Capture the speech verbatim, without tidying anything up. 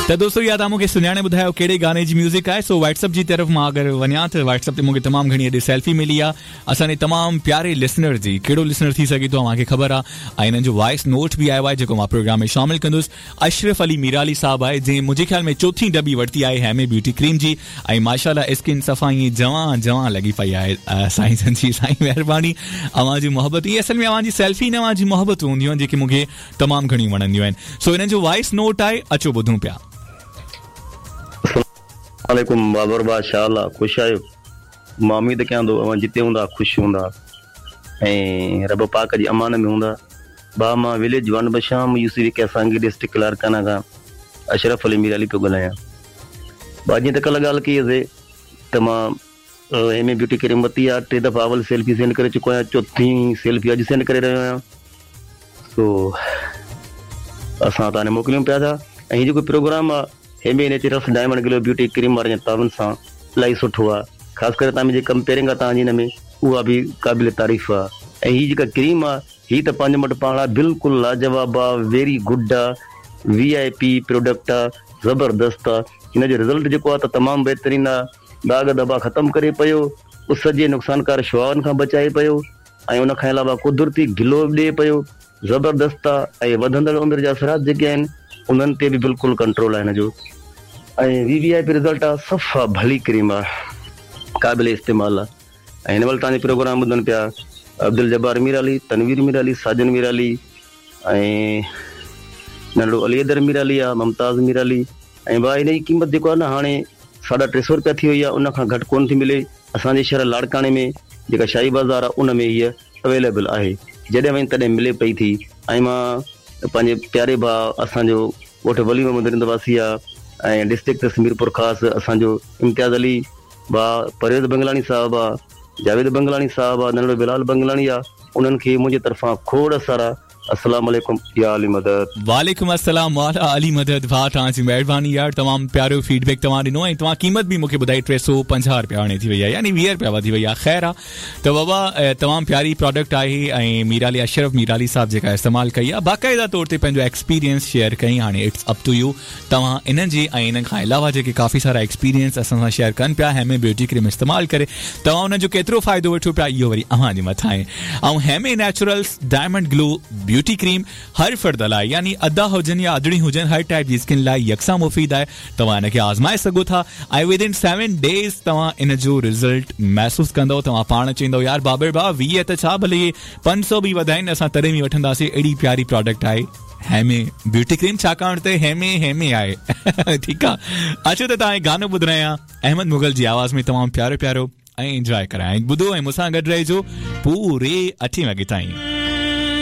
त दोस्तो इहा तव्हां मूंखे सुञाणे ॿुधायो कहिड़े गाने जी म्यूज़िक आहे। सो व्हाट्सएप जी तरफ़ मां अगरि वञा त व्हाट्सएप ते मूंखे तमामु घणी अॼु सेल्फी मिली आहे असांजे तमामु प्यारे लिसनर जी। कहिड़ो लिसनर थी सघे थो तव्हांखे ख़बर आहे ऐं हिननि जो वॉइस नोट बि आयो आहे जेको मां प्रोग्राम में शामिल कंदुसि। अशरफ अली मीराली साहब आहे जंहिं मुंहिंजे ख़्याल में चोथी डबी वरिती आहे हेमे ब्यूटी क्रीम जी ऐं माशाअल्लाह स्किन सफ़ा ईअं जवां जवां लॻी पई आहे। साईं जन जी साईं महिरबानी, अव्हां जी मोहबत इहा असल में अव्हां जी सेल्फी न अव्हां जी मोहबत हूंदियूं आहिनि जेके मूंखे तमामु घणियूं वणंदियूं आहिनि। सो हिननि जो वॉइस नोट आहे, अचो ॿुधूं पिया। वालेकुम बाबर बादशाह, अल्लाह ख़ुशि आहियो? मां उमेद कयां थो अव्हां जिते हूंदा ख़ुशि हूंदा ऐं रब पाक जी अमान में हूंदा। भाउ मां विलेज वन बशाम यूसी कैसांगी डिस्ट्रिक्ट लाड़काना खां अशरफ अली मीर अली पियो ॻाल्हायां। भाउ जीअं त कल्ह ॻाल्हि कई हुईसीं त मां हेमे ब्यूटी क्रीम वरिती आहे, टे दफ़ा अवल सेल्फी सेंड करे चुको आहियां, चोथी सेल्फी अॼु सेंड करे रहियो आहियां। सो असां तव्हां मोकिलियूं पिया था। ऐं हीउ जेको प्रोग्राम आहे Heme Naturals diamond glow beauty cream वारे तावन सां इलाही सुठो आहे। ख़ासि करे तव्हां जेका कंपेयरिंग आहे तव्हांजी हिन में उहा बि क़ाबिल तारीफ़ आहे। ऐं हीअ जेका क्रीम आहे हीअ त पंहिंजे मटि पाण आहे, बिल्कुलु लाजवाब आहे, वेरी गुड आहे, वी I P product आहे, ज़बरदस्त आहे। हिन जो रिज़ल्ट जेको आहे त तमामु बहितरीनु आहे। दाग़ धबा ख़तमु करे पियो, उस जे नुक़सानकार शुआउनि खां बचाए पियो ऐं उन खां अलावा कुदरती ग्लो बि ॾिए पियो, ज़बरदस्त आहे। ऐं वधंदड़ उमिरि जा असरात जेके आहिनि उन्हनि ते बि बिल्कुलु कंट्रोल आहे हिन जो। ऐं V V I P result आहे, सफ़ा भली क्रीम आहे, क़ाबिल इस्तेमालु आहे। ऐं हिन महिल तव्हांजो प्रोग्राम ॿुधनि पिया अब्दुल जब्बार मीर अली, तनवीर मीर अली, साजन मीर अली ऐं नंढो अली अदर मीर अली आहे, मुमताज़ मीर अली। ऐं भाउ हिन जी क़ीमत जेको आहे न हाणे साढा टे सौ रुपया थी वई आहे, उन खां घटि कोन थी मिले। असांजे शहर लाड़काणे में जेका शाही बाज़ार आहे उन में हीअ अवेलेबल आहे, जॾहिं वञ तॾहिं मिले पई थी। ऐं मां पंहिंजे प्यारे भाउ असांजो ॻोठ वली मोहम्मद रिंद वासी आहे ऐं डिस्ट्रिक्ट मीरपुर ख़ासि असांजो इम्तियाज़ अली भाउ, परवेज़ बंगलाणी साहिबु आहे, जावेद बंगलाणी साहिबु आहे, नंढो बिलाल बंगलाणी आहे, उन्हनि खे मुंहिंजी तरफ़ां खोड़ सारा अस्सलाम वालेकुम या अली मदद। वालेकुम अस्सलाम वाला अली मदद। भाउ तव्हांजी महिरबानी यार, तमामु प्यारो फीडबैक तव्हां ॾिनो ऐं तव्हां क़ीमत बि मूंखे ॿुधाई टे सौ पंजाह रुपया हाणे थी वई आहे, यानी वीह रुपया वधी वई आहे। ख़ैर आहे त बाबा तमामु प्यारी प्रोडक्ट आहे ऐं मीराली अशरफ मीराली साहिबु जेका इस्तेमालु कई आहे बाक़ाइदा तौर ते पंहिंजो एक्सपीरियंस शेयर कई। हाणे it's up to you, तव्हां इन्हनि जी ऐं इन्हनि खां अलावा जेके काफ़ी सारा एक्सपीरियंस असां सां शेयर कनि पिया हेमे ब्यूटी क्रीम इस्तेमालु करे तव्हां उन्हनि जो केतिरो फ़ाइदो वठो पिया इहो वरी अव्हां जे मथां आहे। ऐं Heme Naturals diamond glow beauty cream हर फ़र्द लाइ यानी अदा हुजनि या अदड़ी हुजनि हर टाइप जी स्किन लाइ यकसां मुफ़ीद आहे। तव्हां हिनखे आज़माए सघो था ऐं विद इन सेवन डेज़ तव्हां इन जो रिज़ल्ट महसूसु कंदव। तव्हां पाण चवंदव यार बाबर भाउ वीह त छा भले पंज सौ बि वधाइनि असां तॾहिं बि वठंदासीं, अहिड़ी प्यारी प्रोडक्ट आहे हेमे ब्यूटी क्रीम, छाकाणि त हेमे हेमे आहे। ठीकु आहे, अचो त तव्हां गानो ॿुधायां अहमद मुग़ल जी आवाज़ में, तमामु प्यारो प्यारो ऐं इंजॉय करायां। ॿुधो ऐं मूंसां गॾु रहिजो पूरे अठे वॻे ताईं।